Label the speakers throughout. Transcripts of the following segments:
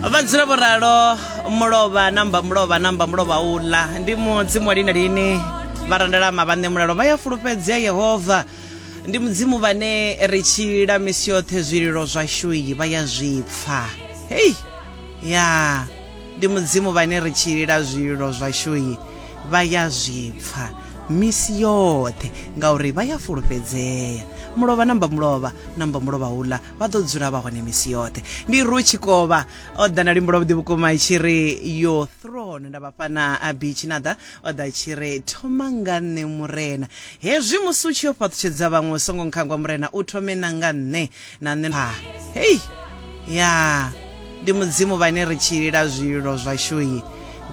Speaker 1: Vha dzula vho ralo mulovha namba mulovha namba mulovha uḽa ndi mudzimu wa lini na lini vha randalama vhaṋe mulalo vha ya fulufhedzea Yehova ndi mudzimu vhane ri tshila misi yoṱhe zwililo zwashu vha ya zwi pfa hei ya ndi mudzimu vhane ri tshilila zwililo zwashu vha ya zwi pfa misi yoṱhe ngauri vha ya fulufhedzea mulovha namba mulovha namba mulovha uḽa vha ḓo dzula vha hone misi yoṱhe ndi ru tshikovha o ḓa na luimbo lwavhuḓi vhukuma i tshi ri your throne nda vhafha na abi tshinaḓa o ḓa tshi ri thoma nga nṋe murena hezwi musi u tshi yo fhaṱutshedza vhaṅwe u songo nkhangwa murena u thome na nga nṋe na nṋe ha hei ya ndi mudzimu vhane ri tshilila zwililo zwashu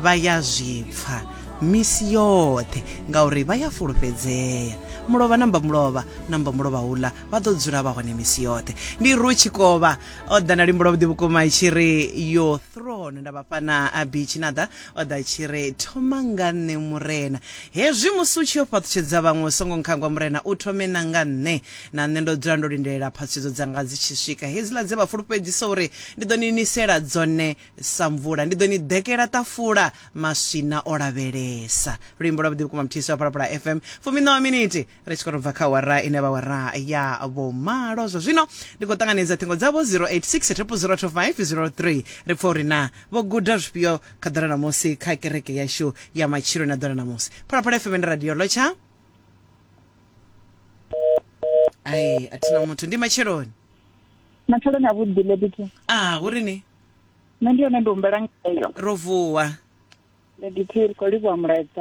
Speaker 1: vha ya zwi pfa misi yoṱhe ngauri vha ya fulufhedzea mulovha namba mulovha namba mulovha uḽa vha ḓo dzula vha hone misi yoṱhe ndi ru tshikovha o ḓa na luimbo lwavhuḓi vhukuma i tshi ri your throne nda vhafha na abi tshinaḓa o ḓa tshi ri thoma nga nṋe murena hezwi musi u tshi yo fhaṱutshedza vhaṅwe u songo nkhangwa murena u thome na nga nṋe na nṋe ndo dzula ndo lindelela phaṱhutshedzo dzanga dzi tshi swika hedziḽa dze vha fulufhedzisa uri ndi ḓo ni nisela dzone sa mvula ndi ḓo ni ḓekela ṱafula maswina o lavhelesa luimbo lwavhuḓi vhukuma mthisi wa phalaphala fm fumiṋa wa miniti ri tshi khou tou bva kha wara ine vha wara ya vhomalo zwa zwino ndi khou ṱanganedza ṱhingo dzavho 086 0002503 ri pfa uri na vho guda zwifhio kha ḓora ṋamusi kha kereke yashu ya matshilo na ḓora ṋamusi phalaphala fm ndi radio lotsha ai a thina muthu ndi matsheloni
Speaker 2: Matsheloni a vhuḓi Lady
Speaker 1: ah hu ri ni
Speaker 2: Nṋe ndi yone ndi humbela ngayo.
Speaker 1: Ro vuwa.
Speaker 2: Lady T ri khou livhuwa mulaedza.